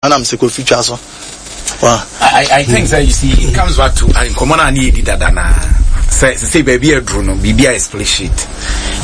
Ɛna mese Kofi twa so. Wa. I, I think sɛ you see it comes back to nkɔmɔ no a ne yɛdi dada naa sɛ sɛ baabi aduru no biribi a split sheet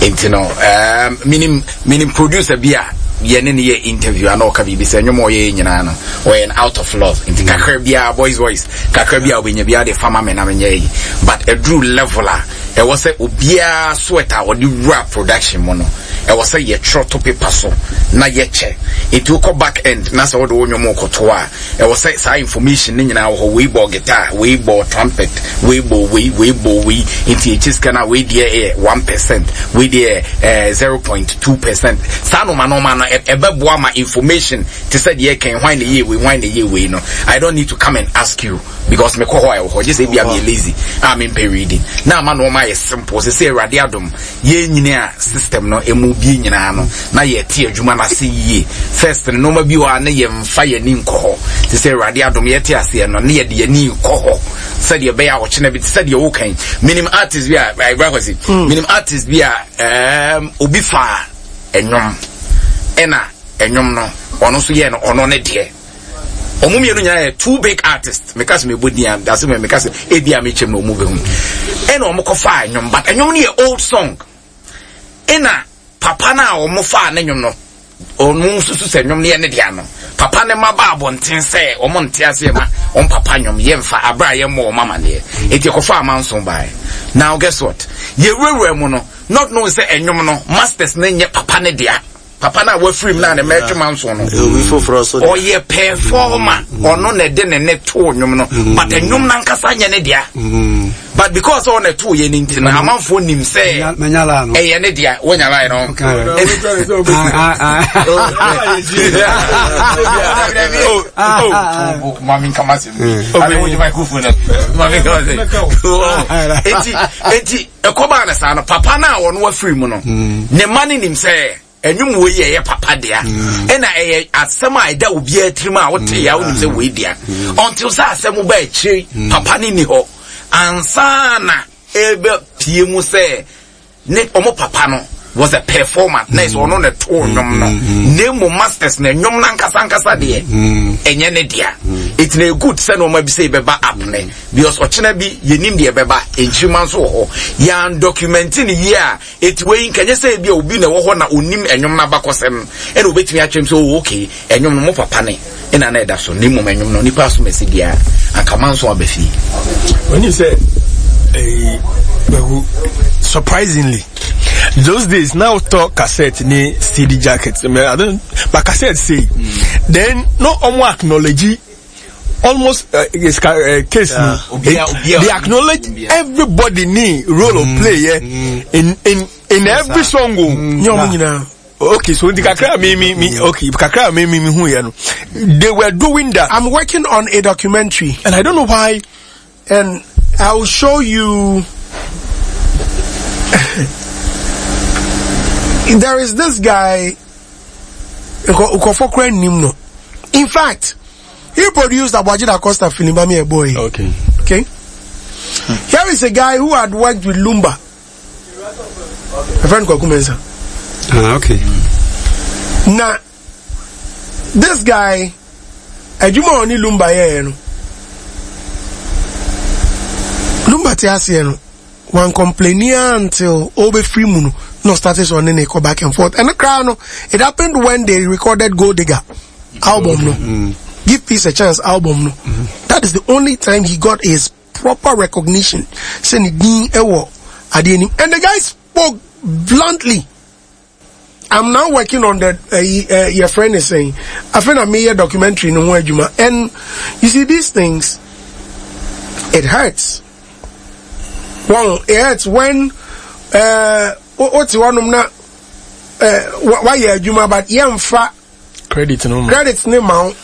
nti no um, menim menim producer bi a yɛne ne yɛ interview ana ɔka biribi sɛ nnwom a ɔyɛ nyinaa no ɔyɛ no out of love nti kakra biara boys boys kakra bi a wobɛnya biara de fama me na menyɛ yi but aduru level a Ɛwɔ sɛ obiara sweat a ɔde wura production mu no, ɛwɔ sɛ yɛtwerɛ to paper so na yɛkyɛ. Nti wokɔ back end na sɛ wode wo nnwom rekɔto a, ɛwɔ sɛ saa information no nyinaa wɔ hɔ, wei bɔɔ guitar, wei bɔɔ trumpet, wei bɔɔ wei, wei bɔɔ wei, nti yɛkyɛ sika no a, wei deɛ yɛ 1%, wei deɛ yɛ 0.2%. Saa nnoɔma nnoɔma no, ɛbɛboa ma information te sɛ deɛ yɛka yi, hwan na ɛyɛɛ wei, hwan na ɛyɛɛ wei no, I don't need to come and ask you. Because mekɔ hɔ a ɛwɔ hɔ gye sɛ ebia meyɛ lazy a mempɛ reading na ama nnoɔma ayɛ simple sɛ sɛ Awurade adom yɛn nyini a system no emu bie nyinaa no na yɛte adwuma no ase yie first no nnoɔma bi wɔ a na yɛmfa yɛn ani nkɔ hɔ te sɛ Awurade adom yɛte aseɛ no na yɛde yɛn ani kɔ hɔ sɛdeɛ ɛbɛyɛ a ɔkyena bi te sɛ deɛ woka yi menim artist bi a ɛbra kwasi menim artist bi a um, obi faa ɛnwom ɛna ɛnwom no ɔno nso yɛɛ no ɔno ne deɛ Wɔn mmienu nyinaa yɛ two big artists. Meka sɛ mebɔ din a, dase mɛ meka sɛ ebi a mekyɛm na wɔn bɛhu. Ɛna wɔn kɔfaa nnwom, but nnwom no yɛ old song. Ɛna papa no a wɔn faa ne nnwom no, wɔn susu sɛ nnwom no yɛ ne dea no. Papa no ma ba abɔnten sɛ wɔn nte aseɛ ma wɔn papa nnwom yɛmfa abere a yɛmmɔ wɔn amaneɛ. Eti ɛkɔfaa amanson baeɛ. Now guess what? Yɛwurawura mu no, not knowing sɛ nnwom no masters no nyɛ papa ne dea. Papa no a wafiri mu no a ne mma atwam anso no, ɔyɛ performer. Mm. Ɔno na ɛde ne ne too nnwom no, mm. but nnwom no ankasa nyɛ ne dea. Mm. But because ɔna ɛtoo yɛ no nti no, amanfoɔ nim sɛ ɛyɛ ne dea. Wonya line no? Mami nkama se. Eti eti Ɛkɔbaa no saa no, papa no a ɔno afiri mu no, mm. ne mma no nim sɛ ɛnwom wei yɛ ɛyɛ papa dea mm. ɛna ɛyɛ asɛm a ɛda obiara tirim a wote ya wonim sɛ wei dea mm. until sɛ asɛm ba akyire papa no ni hɔ ansa na ɛbɛpie mu sɛ ne ɔmo papa no was a performer na ɛsɛ ɔno na ɛtoo nnwom no na mmom masters na nnwom no ankasa ankasa deɛ ɛnyɛ ne dea ɛti na ɛgood sɛ nneɛma bi sɛ ɛbɛba up ne Because ɔkyena bi yɛnim deɛ ɛbɛba, nkyirima nso wɔ hɔ. Yɛan document no yie a, eti wei nka nyɛ sɛ ebia obi na ɛwɔ hɔ na onim ɛnwom no abakɔsɛm ɛna obetumi akyerɛ mu sɛ oh okay, ɛnwom no mo papa ne ɛna na ɛda so, na mmom ɛnwom no nipa asom asi deɛ a, anka manso aba fie. Wɔnim sɛ ɛyi Kwaku surprisingly those days now talk cassette ne CD jacket I don't but cassette say mm. then no ɔmo acknowledge almost uh, uh, case yeah. no it, they acknowledge everybody ni role of mm. play yeah, mm. in in in yes, every song o. Mm. Okay, so the kakra me me me okay kakra me me me who you know they were doing that. I'm working on a documentary and I don't know why. And I will show you. there is this guy. In fact, he produced Aboagye Da Costa Filibami Boy. Okay. Okay. Here is a guy who had worked with Lumba. A friend called Kumensa. Ah, okay. Now, this guy, adwuma a ɔne Lumba yɛɛ no, Lumba te aseɛ no, wan complaini ara until ɔbɛfiri mu no, na ɔstarte sɛ ɔne ne kɔ back and forth. Ɛno koraa no, it happened when they recorded Gold Digger album no, mm. Give Peace a Chance album no. Mm. That is the only time he got his proper recognition sɛ ne din ɛwɔ adeɛ nim. And the guy spoke bluntly. I'm now working on the uh, uh, your friend is saying I feel I made a documentary no ho adwuma and you see these things it hurts. Well, it hurts when uh wote hɔnom na uh, wayɛ adwuma but yɛmfa credit no credit ne ma wo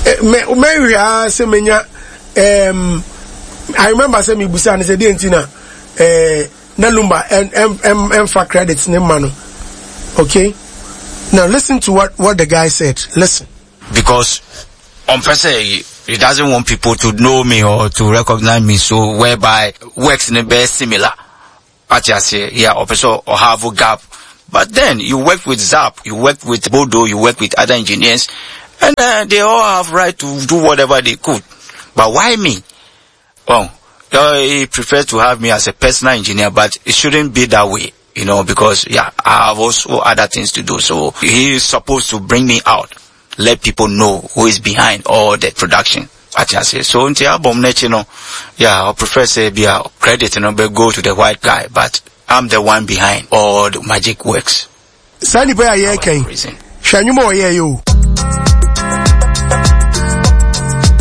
mɛhwɛ ara sɛ menya um, I remember sɛ mebusa no sɛ deɛ nti na uh, na Lumba ɛmfa credit ne ma no okay now listen to what what the guy said listen. Because ɔmpɛ sɛ he doesn't want people to know me or to recognize me so whereby works ne bɛyɛ similar wate aseɛ yeah ɔpɛ sɛ ɔhave gap but then you work with Zap you work with Bodo you work with other engineers. And uh, they all have right to do whatever they could. But why me? Well, uh, he prefers to have me as a personal engineer, but it shouldn't be that way, you know, because yeah, I have also other things to do. So he is supposed to bring me out, let people know who is behind all the production. Ati ase. So nti album n'akyi no, yeah, I prefer say be a credit, you know, but go to the white guy, but I'm the one behind all the magic works. Saa nipa yi a yɛreka yi, hwɛ nnwuma a ɔyɛɛ yɛ o.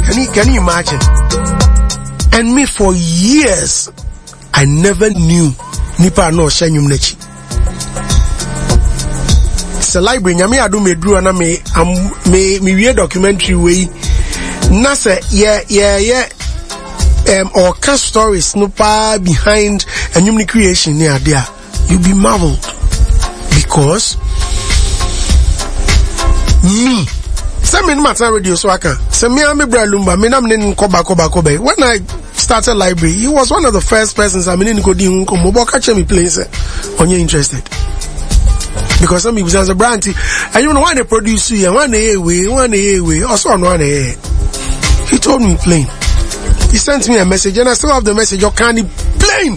Can you, can you imagine? And me for years, I never knew nipa a na ɔhyɛ nnwom n'akyi. Sɛ library nyame adom eduru na me am me me wie documentary wei na sɛ yɛ yɛ yɛ um, ɔka stories no paa behind nnwom no creation ne ade a you be marveled because me sɛ me no matena radio so aka sɛ me a me bra lumba me na me ne no kɔba kɔba kɔba when I started library he was one of the first persons a me ne no kɔdi ho nkɔmmɔ bɔ ɔka kyerɛ me plain sɛ ɔnyɛ interested because some people say bra nti ɛnwom no hwan na produce yɛ hwan na ɛyɛ wei hwan na ɛyɛ wei ɔsɛ ɔno ana ɛyɛ he told me plain he sent me a message and I still have the message ɔka ne plain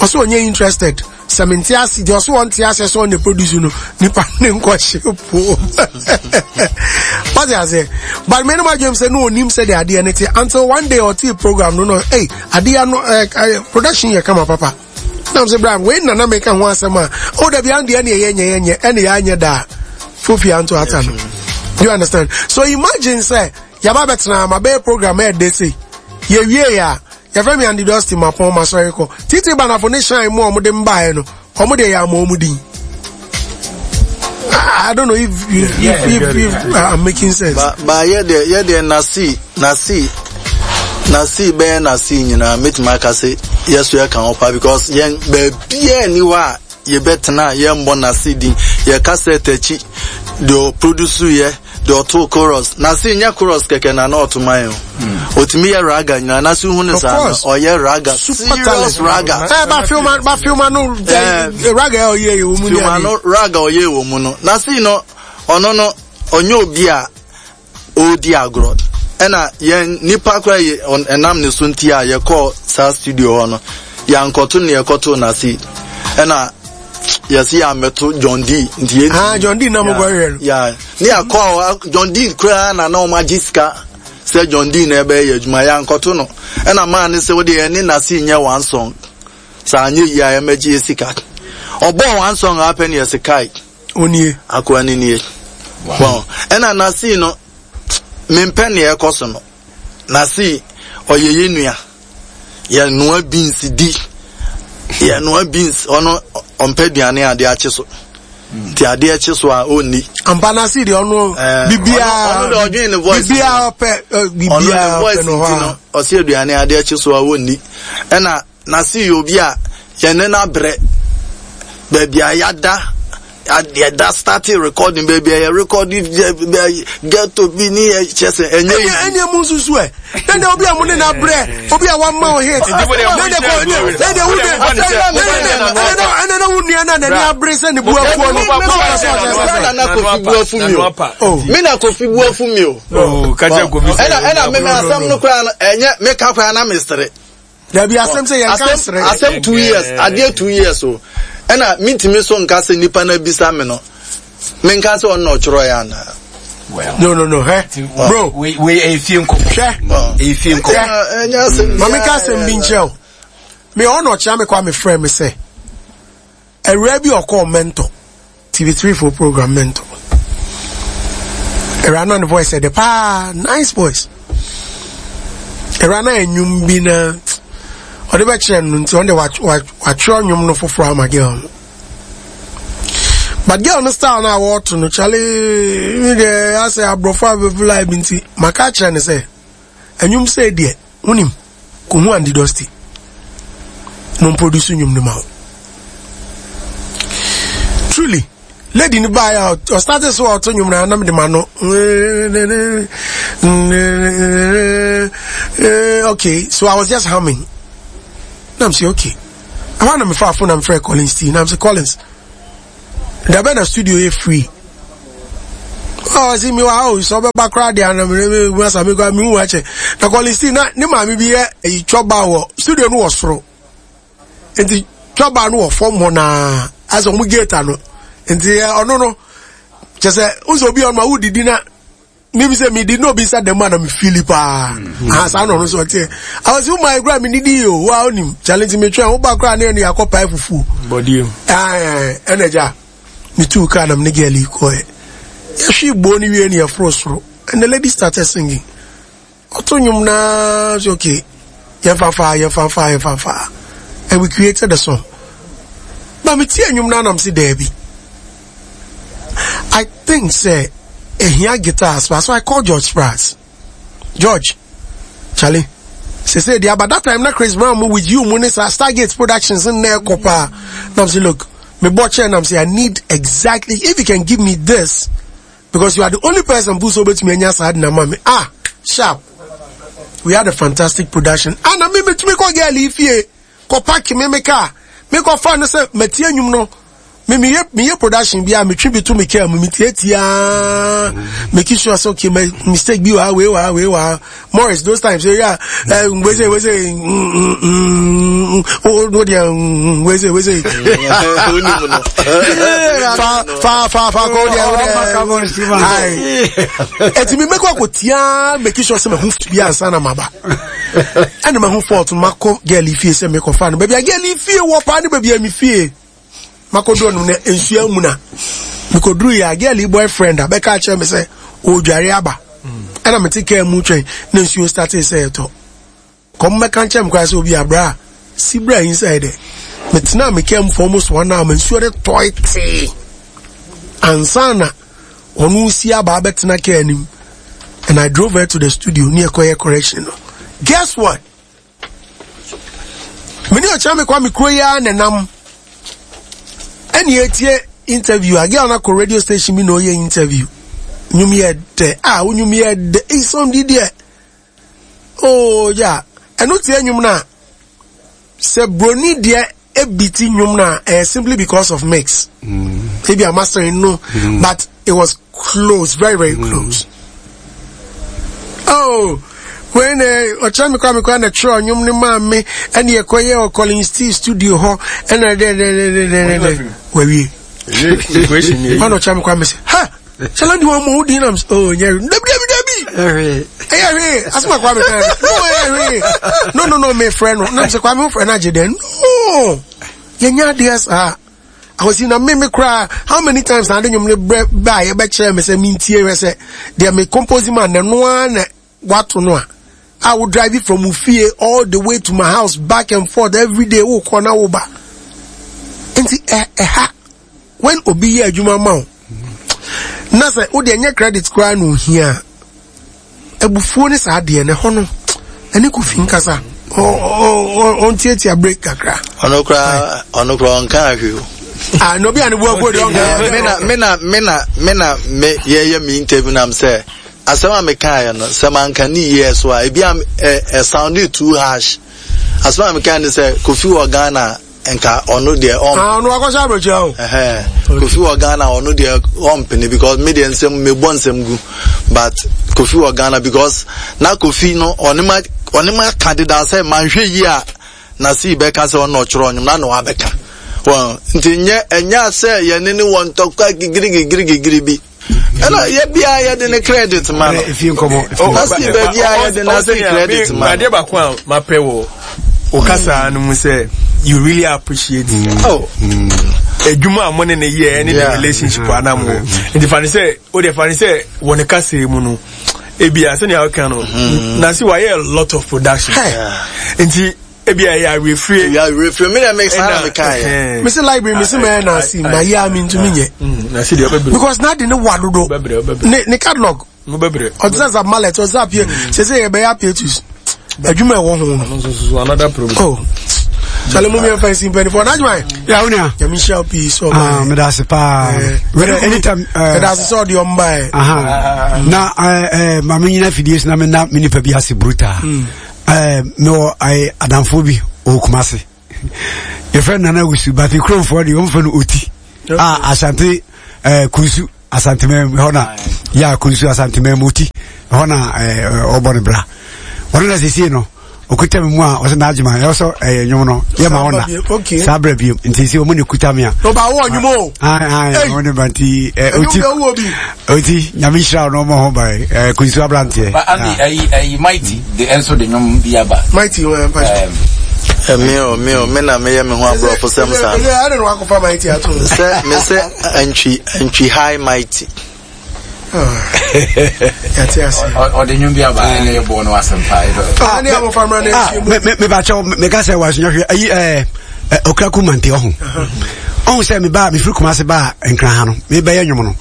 ɔsɛ ɔnyɛ interested sɛ mente ase deɛ ɔsɛ ɔnte ase sɛ ɔne produce no nipa ne nkɔhye po wate aseɛ but me no madwem sɛ ne ɔnim sɛ deɛ adeɛ no te until one day ɔtee program no no ei adeɛ no eh, eh, production yɛ kama papa nam sɛ bra wei nana meka ho asɛm a o dabi andeɛ ne ɛyɛ nyɛ yɛnyɛ ɛne yɛanyɛ daa fofi anto ata no you understand so imagine sɛ yɛaba bɛtena ma bɛyɛ program ɛɛdɛ sei yɛwie yɛ a Yɛfrɛ me Andy Dosty mapɔn masɔre kɔ. Titi Banafo ne Shine mu a wɔde mbaeɛ no, wɔn deɛ yɛ ama wɔn din. I don't know if you, yeah, if, if, if I'm making sense. Ba ba yɛ deɛ yɛ deɛ nasi nasi nasi bɛyɛ nasi nyinaa mɛtumi aka sɛ yɛ so yɛ ka ho pa because yɛn baabiara ni hɔ a yɛbɛtena a yɛmmɔ nasi din yɛ cassette akyi deɛ ɔproduce yɛ. Deɛ ɔtoo chorus na se nyɛ chorus kɛkɛ na na ɔto ma yɛn o. Otumi yɛ raga nyinaa na se hu ne saa no ɔyɛ raga serious raga. Ɛ ba filma ba filma no raga ɛ ɔyɛ yɛ wɔ mu ni Filma no raga ɔyɛ wɔ mu no na se no ɔno no ɔnyɛ obi a ɔredi agorɔ ɛna yɛn nipa koraa yɛ ɛnam ne so nti a yɛkɔɔ saa studio hɔ no yɛankɔto ne yɛkɔtoo na se ɛna yɛsi yɛ amɛto John D nti yɛ. Ah John D na mo kɔ hwɛ no. Ya ne akɔ a John D koraa na na wɔn agye sika sɛ John D na ɛbɛyɛ yɛ adwuma yɛ ankɔto no ɛna maa ne sɛ wɔde yɛn ne nasi nyɛ one song saa anyɛ yie a yɛmɛgye yɛ sika ɔbɔɔ one song apɛ ne yɛsi kai. Onie. Akoa ne nie. Wow. Ɛna nasi no mempɛ nea ɛkɔ so no. Nasi ɔyɛ yɛ nua. Yɛnoa beans di. Yɛnoa beans ɔno ɔmpɛ aduane a adeɛ akye so. Nti adeɛ kye so a ɔnni. Ampa Nasi deɛ ɔno eh, bibiara ɔno deɛ ɔdwen ne voice. Bibiara ɔpɛ eh, bibiara ɔpɛ no hɔ a. Ɔsi aduane adeɛ kye so a ɔnni. Ɛna Nasi yɛ obi a yɛne no abrɛ. Baabi a yɛada, yɛda starting recording, baabi a yɛ recording ghetto bi ne yɛ kyɛ sɛ ɛnyɛ easy. Ɛnyɛ mu nsusu ɛ. Ɛnna obi a mo ne no abrɛ, obi a wama o hit. Ɛnna kɔ ɛnna wo de ɛnna na wo nua na n'ani abere sɛ ne bu afuo no. Na Kofi bu afu mi o. Mi na Kofi bu afu mi o. Ɛnna ɛnna mímɛ asɛm no koraa no ɛnyɛ meka koraa na mesere. Dabi asɛm sɛ yɛn ka sere. Asɛm 2 years adeɛ 2 years o ɛna mintimi so nka sɛ nipa na bisa mi no menka sɛ ɔno na ɔtwerɛ yɛ anaa. Well, no no no hɛ bro. Wei wei efie nkɔmɔ. Hwɛ efie nkɔmɔ. Ɛnyɛ asɛm. Maame ka asɛm bi nkyerɛ o. Mi ɔno ɔkyerɛ mi kɔ a mi frɛ mi sɛ awura bi ɔkɔɔ mentor TV3 for program mentor. Awura na ne voice ɛdɛ paa nice voice. Awura na enyum bi na ɔde bɛkyerɛ no nti ɔno de watwerɛ nnwom no foforɔ ama girl no. But girl no style na wɔto no kyale mi deɛ asɛ aborɔfo abɛfo live nti maka akyerɛ no sɛ ɛnwom sɛ deɛ wonim kohu Andy Dosty na ɔmproduce nnwom no ma wo. Truly, lady no baeɛ a ɔstarte so a ɔto nnwom no na mede ma no okay so I was just humming na I'm say okay ɛhɔ na mefa afo na mefrɛ Collins T na I'm say Collins da bɛn na studio yɛ free? Ɔsi mi wa o sɛ ɔbɛba koraa deɛ anam ne mi mu asa mi kora mi hu akyɛ. Na Collins T na ne maame bi yɛ eyi twɔba wɔ studio no wɔ soro. Nti twɔba no wɔ fam hɔ naa asɛ wɔn gate ano. Nti ɔno no kyɛ sɛ nso obi ɔno a wodidi na mímu sɛ mi di na obi nsa dɛm a na mi fili paa ah saa na ɔno nso ɔteɛ awɔsi wo maa ekura mi didi yi o wa onim challenge mi twɛn wo ba kura ne yɛ no yakɔ pae fufuo bɔdie ɛna gya mi tu kaa na mi ne girl yi kɔɛ yɛhwe bo ne wie ne yɛforo soro and the lady started singing ɔto nnwom naa so okay yɛmfa fa yɛmfa fa yɛmfa fa and we created the song but mi tie nnwom naa nam si daabi. I think sɛ ehia guitars but so I call George Sprats. George, Charlie, sese deɛ aba that time na Chris Brown mu with you mu ne saa Stargate Productions nna ɛkɔ paa. Na I'm say look, me bɔ kyerɛ na I'm say I need exactly if you can give me this because you are the only person who so betumi anya saa de na ma me. Ah, sharp. We had a fantastic production. Ah, na me metumi kɔ girl yi fie. Kɔ park me me car. Me kɔ fa no sɛ matie nnwom no. Me meyɛ meyɛ production bi a metwe bi to me car mu metietie make sure sɛ okay my mistake bi wɔ ha wei wɔ ha wei wɔ ha. Morris those times yeah eh wei sɛ wei sɛ mm mm mm oh deɛ wei sɛ wei sɛ fa fa fa fa kɔ deɛ wo deɛ ayi ɛti mi mɛkɔ akɔ tia make sure sɛ mɛ ho bi ansa na ma ba. Ɛna mahu fault no makɔ girl yi fie sɛ mekɔfa no baabi a girl yi fie wɔ paa ne baabi a me fie makɔduru no na nsuo amuna mekɔduru yɛ a girl yi boyfriend a bɛka akyerɛ me sɛ ɔredware aba ɛna mete kaa mu twɛn na nsuo startee sɛ ɛtɔ kɔm bɛka nkyerɛ me koraa sɛ obi abra a si bra inside dɛ metena me kaa mu for almost one hour ma nsuo de tɔe tee ansa na ɔno si aba abɛtena kaa anim and I drove her to the studio ne ɛkɔyɛ correction no guess what me ne ɔkyerɛ me kwa me kuro yi ara na nam ɛne etie interview a girl na kɔ radio station bi na ɔyɛ interview nnwom yɛ dɛ a wo nnwom yɛ dɛ eyi di deɛ oh ya ɛno tie nnwom no a sɛ broni deɛ ebiti nnwom no a ɛyɛ simply because of mix mm. ebi a mastering no mm. but it was close very very mm. close oh when ɔkyerɛ me kora me kora na twerɛ nnwom no maa me ɛne ɛkɔyɛ wɔ Collins T studio hɔ ɛna dɛdɛdɛdɛdɛdɛ wawie ɔna ɔkyerɛ me kora me sɛ ha Shala di wɔn mo di nam oh nyɛ dabi dabi dabi ɛyɛ hwee asoma kwame kan no ɛyɛ hwee no no no me frɛ no nam sɛ kwame frɛ no agye dɛ no yɛnyɛ adeɛ saa ahosi na me me koraa how many times na ade nwom ne brɛ ba a yɛbɛkyerɛ me sɛ mentie hwɛ sɛ deɛ me compose ma na no ara na wato no a a wo drive from wo fie all the way to my house back and forth every day wo kɔ na wo ba nti ɛha when obi yɛ adwuma ma wo na sɛ wo deɛ nyɛ credit koraa na ohia a abufuo ne saa adeɛ no ɛhɔ no ɛne kofi nkasa ɔntiatia break kakra ɔno koraa ɔno koraa ɔnka ahwe o ah na obi a ne bu afuo deɛ ɔnka me na me na me na me na me yɛyɛ me interview nam sɛ Asɛm a mekaeɛ no, sɛ manka ne yie so a, ebi a ɛ sounded too harsh. Asɛm a mekaeɛ ne sɛ, Kofi wɔ Ghana nka ɔno deɛ ɔmpene. Ah, ɔno akɔhyɛ aburokyire o. Ɛhɛn, Kofi wɔ Ghana ɔno deɛ ɔmpene because me deɛ nsɛm mebɔ nsɛm gu but Kofi wɔ Ghana because na Kofi no ɔne ma ɔne ma ka deda sɛ manhwɛ yie a na si bɛka sɛ ɔno ɔtwerɛ ɔnwom na na wabɛka wɔn nti nyɛ ɛnyɛ sɛ yɛne ne wɔ ntɔkwa gigiri gigiri gigiri bi. ɛna yɛ bia yɛde ne credit ma no efie nkɔmɔ nasi baabi a yɛde nasi credit ma no adeɛ baako a mapɛ wɔ o kasa no mu sɛ you really appreciate mm. oh adwuma a mo ne ne yɛ ne the relationship a na mo wɔ nti fa ne sɛ o deɛ fa ne sɛ wɔ ne kasa mu no ebia sɛnea ɔka no nasi wayɛ a lot of production nti. Ebi a ɛyɛ awerɛfie. Ɛyɛ awerɛfie mi na mi saa na mi kan yɛ. Mi si library mi si mɛ na si ma yɛ a mi ntumi nyɛ. Na si deɛ ɔbɛbrɛ. Because n'a de ne wa dodo. Ne ne catalog. Ɔte sɛ zap mallet ɔte sɛ apie sɛ sɛ yɛ bɛyɛ apietus. Adwuma ɛwɔ ho no. Another problem. Oh. Sale mu miɛnfa nsi mpanyinfoɔ n'adwuma yɛ. Ya wo nua. Nyame nhyira wo pii sɛ ɔba. Ah, meda ase paa. Wɛrɛ anytime. Meda ase sɛ ɔde ɔmba yɛ. Na ɛɛ maame nyina fidie so na me na me nipa bi ase brutal. Eh, mewɔ eh, adamfoɔ bi ɔwɔ Kumase yɛfrɛ no Nana Wusu but kuromfoɔ deɛ wɔmfrɛ no Oti a Asante eh, Kunsu. Asanteman hɔ na yɛ akonsu Asanteman mu ti hɔ na ɔbɔ ne bra. Ɔno na sesie no okuta mi mu a ɔsɛ n'adwuma ɛwɔ sɛ ɛyɛ nnwom no yɛ ma ɔna saa brɛ bio nti sɛ ɔmo ne kuta mi a. Ɔba awɔ nnwom o. Ayi ayi ɔmo ne ba nti ɛ oti oti nyame nhyira ɔno ɔmo ho ba ɛ kunsu aberanteɛ. Ba Andy ɛyi ɛyi mighty de ɛnso de nnwom bi aba. Mighty wɔn mpa. Mi o mi o mi na mi yɛ mi ho aborɔfo sɛm saa. Sɛ mi sɛ antwi antwi high mighty. Ɔde nnwom bi aba ɛna yɛ bɔɔ no asɛm paa. Mebakyɛw meka sɛ wasua hwɛ ayi ɛɛ okraku mante ɔho ɔho sɛ mebaa mefiri Kumase baa Nkran ha no mebɛyɛ nnwom no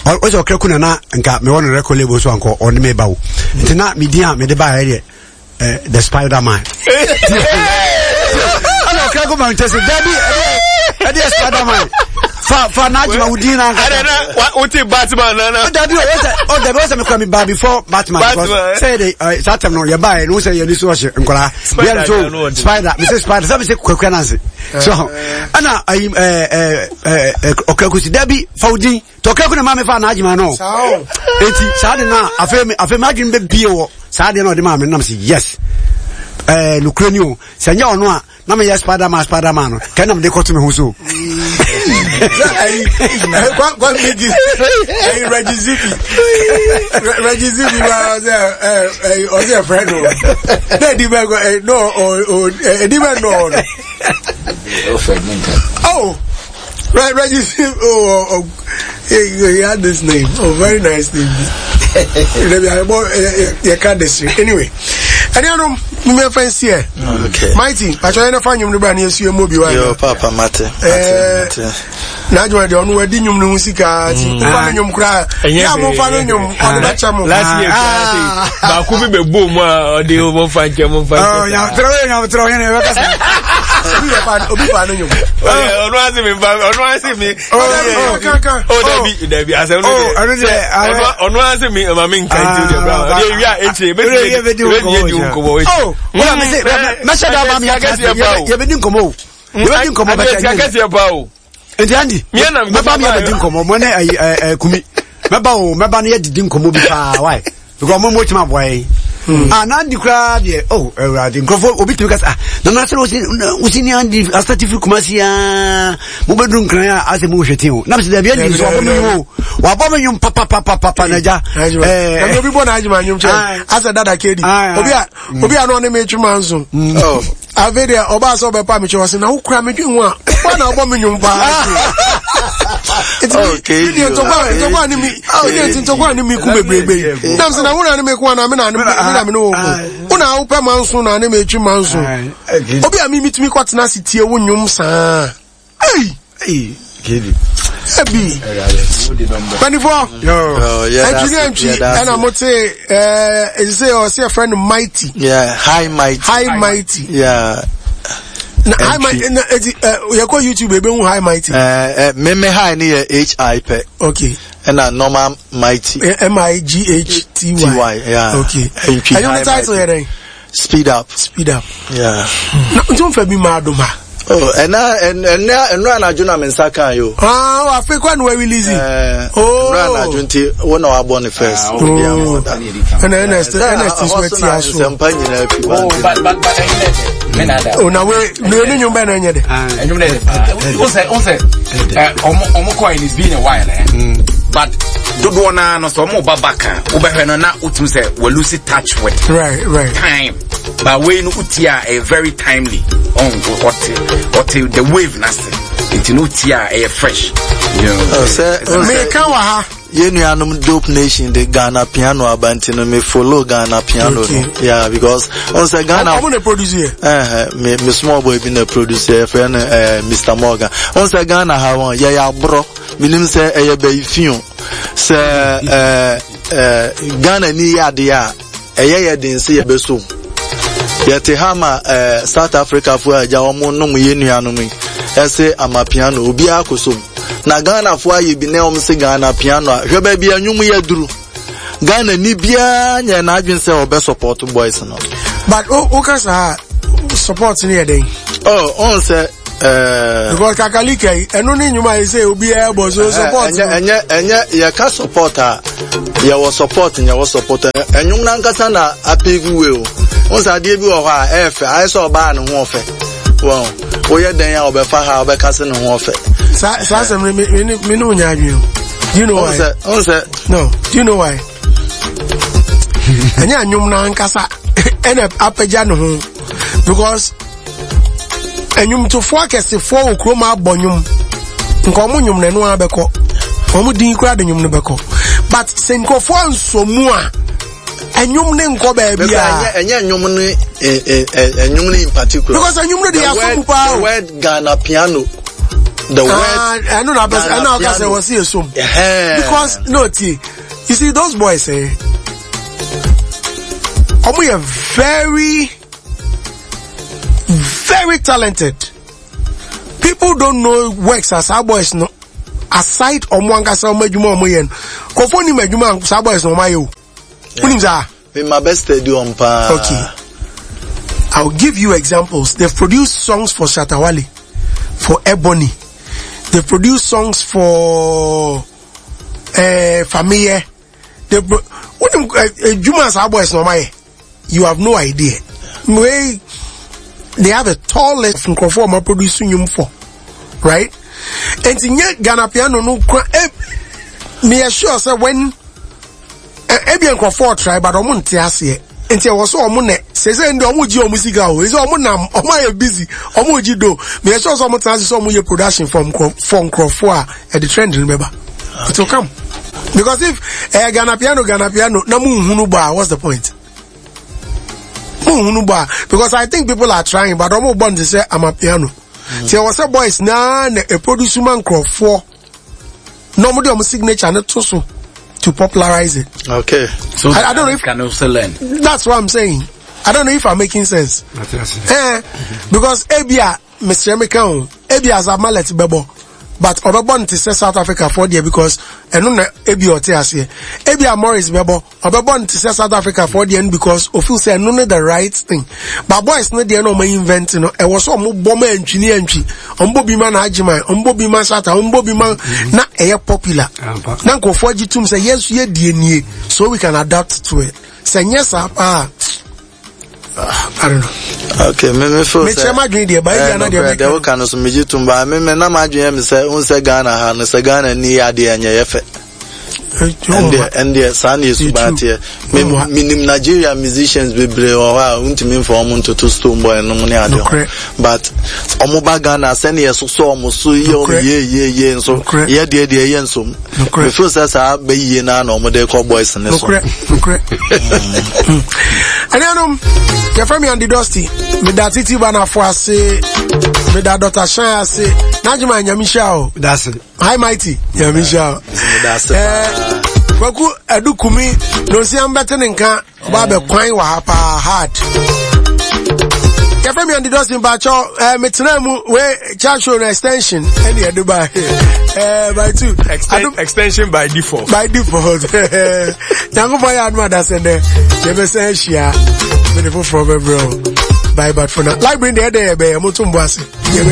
ɔsɛ okraku na na nka mewɔ no record label so ankɔ ɔne me ba wo nti na medin a mede baa ɛdeɛ the spider man ɛna ɔkra ko man kyɛ sɛ dabi ɛdeɛ spider man fa fa n'adwuma wo din na nkata. ɛdɛ na o ti batman nana. o dabi o sɛ o dabi o sɛ mi kura mi ba before batman. batman sɛ yɛ de ɛ saa tɛm no yɛ ba yɛ no sɛ yɛ ni so ɔhyɛ nkɔla. spider so spider mi sɛ spider sɛ mi sɛ kwakua nansi. so ɛna ayi ɛ ɛ ɛ ɔkra kusi dabi fa wo din. Tɔkɛ ko na maa mi fa n'adwuma no. Eti saa de na afei mi afei mi adwene bɛ bie wɔ saa deɛ na ɔde maa mi nam si yes. Ɛɛ nukuri ni o sɛ nyɛ ɔno a na mi yɛ spiderman spiderman no kɛ na mi de kɔto mi ho so. Kwan mi di ɛyi Reggie Zibi Reggie Zibi wa ɔsɛ ɛ ɛ ɔsɛ fɛ no ne edi bɛ ɛ no ɔ ɔ edi bɛ nɔ ɔno. Oh. Right, Reggie. Oh, oh, oh he, he had this name. Oh, very nice name. You can't this. Anyway, and you know, me friends here. Okay. Mighty, I try to find you brand new see mo bi wa. Yo, Papa Mate. Eh, na adwuma deɛ ɔno wadi nnwom no ho sika nti wofa no nnwom koraa yɛ a momfa no nnwom ɔde bɛkyɛ mo last year baako bi bɛbɔ mu a ɔde momfa nkyɛ momfa nkyɛ obi fa no nnwom ɔno ase mi nfa ɔno ase mi o dabi dabi asɛm no deɛ ɔno ase mi ma mi nka nti o deɛ bra ɔde ewia ekyire ebetumi ebetumi edi nkɔmɔ ekyire. o mɛsɛ da ama mi yɛbɛdi nkɔmɔ o yɛbɛdi nkɔmɔ bɛtɛ ɛnyɛ kɛseɛ pa o. Nti Andy mɛba mi yɛbɛdi nkɔmɔ mo ne ɛyi ɛɛ kumi mɛba o mɛba ne yɛdidi nkɔmɔ bi paa why because ɔmo mo tuma aboa yɛn. Ah na Andy koraa deɛ oh awurade nkurɔfoɔ obi tumi kasa ah nana sɛ wosi wosi ni Andy asate firi Kumasi aa mo bɛ duru Nkran a asɛ mo hwɛ ti o na mi sɛ dabi Andy nso wabɔ mi nwom o wabɔ mi nwom papapapapa na gya ɛɛ obi bɔ n'adwuma nwom kyɛ asɛ dada kedi obi a obi a na ɔne mi twema nso. Afei deɛ ɔbaa sɛ ɔbɛpa me kyɛ ɔse na wokura medwen ho a woa na wobɔ me nwom paa nti ntɔkwa ne mi ntɔkwa ne mi ku bebrebe yi nam sɛ na wo na ne me ko anaa me na me ne wo ko wo na wopɛ ma nso na ne me twi ma nso obi a mi mitumi kɔtena ase tie wo nwom saa Ei! Ebi. Mpanimfoɔ. Antwi ne antwi ɛna mo te ɛɛ ɛsɛ ɔsɛ ɛfrɛ no mighty. Yeah, high mighty. High mighty. Yeah. Na high mighty na eti ɛ yɛkɔ YouTube ebe hu high mighty. Ɛɛ ɛ meme high ne yɛ H I pɛ. Okay. Ɛna normal mighty. M I G H T Y. T Y yeah. Okay. Antwi high mighty. Ɛyɛ title yɛ dɛ. Speed up. Speed up. Yeah. Na nti nfa bi maa dom ha. Oh, ɛna ɛna ɛnura anadwo na me nsa kan yo. Ah, afei kwan na wa release. Eh, oh. Ɛnura anadwo nti wo na wabɔ ne first. Oh. Ɛna ɛna ɛsɛ ɛna ɛsɛ so ɛti aso. Nsɛmpa nyinaa fi ba. Oh, but but but ɛnyɛ dɛ. Me na da. Oh, na we me ne nwom bɛ na ɛnyɛ dɛ. Ɛnyɛ dɛ. O sɛ o sɛ ɛ ɔmo ɔmo kɔ and it's been a while eh. But dodoɔ naa no sɛ ɔmo ba back a wobɛhwɛ no na wotumi sɛ wɔ lose touch with right, right. time but wei no wotie a ɛyɛ very timely ɔte ɔte the wave n'ase nti no wotie a ɛyɛ fresh. sɛ meka wɔ ha yɛn nuanom dope nation de ghana piano aba nti no me follow ghana piano okay. no yeah because ɔn sɛ ghana ɔmo na produce yɛ ɛhɛ me me small boy bi na produce yɛ fɛ no ɛɛ mr morgan ɔn sɛ ghana ha wɔn yɛyɛ aborɔ menim sɛ ɛyɛ bɛyi fi o sɛ ɛɛ ɛɛ ghana ni yɛ adeɛ a ɛyɛ yɛ den sɛ yɛbɛso mu yɛte ha ma ɛɛ south africa fo a agya wɔn nom yɛ nuanom yi ɛsɛ amapiano obiara kɔ so mu na ghana fo ayɛ bi na wɔn sɛ ghana piano a hwɛ baabi anwom yɛ duru ghana ni biara nyɛ n'adwene sɛ ɔbɛ support boys no. but o o ka saa support ni yɛ den. oh ɔn sɛ. Because kakalika yi ɛno ne nnwuma yi sɛ obiara bɔ so support. Ɛnyɛ ɛnyɛ ɛnyɛ yɛka support a yɛwɔ support yɛwɔ support ɛnwom nankasa na apave way o. Wɔn sɛ adeɛ bi wɔ hɔ a ɛyɛ fɛ ayɛ sɛ ɔbaa ne ho ɔfɛ. Wɔn woyɛ dɛn a ɔbɛfa ha ɔbɛka sɛ ne ho ɔfɛ. Saa saa asɛm no me me me ne wo nya adwene o. Do you know why? Wɔn sɛ. No, do you know why? Ɛnyɛ anwom no ankasa ɛna apagya ne ho because nnwomtofoɔ akɛsefoɔ wɔ kurom abɔ nnwom nka ɔmo nnwom no ɛno ara bɛkɔ ɔmo din koraa de nnwom no bɛkɔ but sɛ nkurɔfoɔ ansɔ mu a ɛnwom ne nkɔ baabi a. ɛnyɛ ɛnwom ne ɛnwom ne in particular. because ɛnwom no de yɛ asom paa o. the word Ghana piano. The word. Ɛno na abɛsɛ ɛna ɔka sɛ wɔsi esom. Because no ti you see those boys eh. Ɔmo yɛ very very talented. People don't know works as our boys no. Aside ɔmo ankasa ɔmo adwuma ɔmo yɛ no. Kɔfo nim adwuma saa boys no ɔmo ayɛ o. Wonim saa? Me ma bɛ steady on paa. Okay. I'll give you examples. They've produced songs for Shatta Wale, for Ebony. They've produced songs for Fameye. They pro wonim adwuma saa boys na ɔma yɛ. You have no idea. Wei they have a tall list of nkurɔfoɔ ɔma produce nnwom for, right? Nti nye Ghana piano no kura eh, me sure sɛ when ebia nkurɔfoɔ try but ɔmo nte aseɛ nti ɛwɔ so ɔmo nɛ sese ndɛ ɔmo gye ɔmo sika o sɛ ɔmo nam ɔmo ayɛ busy ɔmo gye do meyɛ sure sɛ ɔmo tena ase sɛ ɔmo yɛ production for nkurɔfoɔ a ɛde trend no bɛba. It will come because if Ghana piano Ghana piano na mo nhunu bɔ a, what's the point? Mo nhunu bɔ a, because I think people are trying but ɔmo bɔ no te sɛ ama piano. Ti ɛwɔ sɛ boys naa na eproduce ma nkurɔfoɔ na ɔmo de ɔmo signature no to so to popularize it. Okay. So I don't know if can also learn. That's what I'm saying. I don't know if I'm making sense. Because ebia mesrɛ meka o, ebia as a mallet bɛbɔ but ɔbɛbɔ no te sɛ South Africa foɔ deɛ because ɛno na ebia ɔte aseɛ. Ebia Morris bɛbɔ, ɔbɛbɔ no te sɛ South Africa foɔ deɛ no because ofeel sɛ ɛno ne the right thing. But boys no deɛ na ɔmo invent no, ɛwɔ sɛ ɔmo bɔ ma antwi ne antwi. Ɔmo bɔ bi ma n'agyeman, ɔmo bɔ bi ma Shatta, ɔmo bɔ bi ma na ɛyɛ popular. Na nkurɔfoɔ agye tom sɛ yɛn nso yɛ deɛ nie so we can adapt to it. Sɛ nyɛ saa paa, I don't know. Okay, me me feel sɛ. Mekyerɛ m'adwene deɛ, ba ebi ana deɛ meka. Deɛ woka no so megye tom ba me me na m'adwene yɛ me sɛ n sɛ Ghana ha no sɛ Ghana ni yɛ adeɛ ɛnyɛ yɛ fɛ. Ɛndeɛ ɛndeɛ saa na esuban teɛ. Me menim Nigeria musicians bebree wɔ hɔ a wontumi nfa wɔn ntoto Stonebwoy nom ne adeɛ ho. But wɔn ba Ghana sɛnea yɛsosɔ wɔn so yɛ wɔn yie yie yie nso yɛ deɛ deɛ yɛ nsom. Me feel sɛ saa bɛyie naa na wɔn de kɔ boys ne so. Nokorɛ nokorɛ. Ɛnuanom yɛfrɛ me Andy Dusty, meda Titi Banafo ase, meda Dr. Shine ase, n'adwuma nyame hyira o. That's it. Hi Mighty, nyame hyira o. Eh, Kwaku Adukumi na osi ambɛte ne nka ɔba abɛkwan wɔ ha paa hard. Yɛfrɛ me Andy Dusty mpakyɛw, eh, metena mu wei chat show no extension ɛne yɛde ba eh, by two. Extension by default. By default. Nyankopɔn yɛ adom adasɛ dɛ yɛbɛsan ahyia mede foforɔ bɛbrɛ o. Bye but for now. Library deɛ ɛdɛ yɛbɛyɛ moto mbo ase. Yɛbɛyɛ.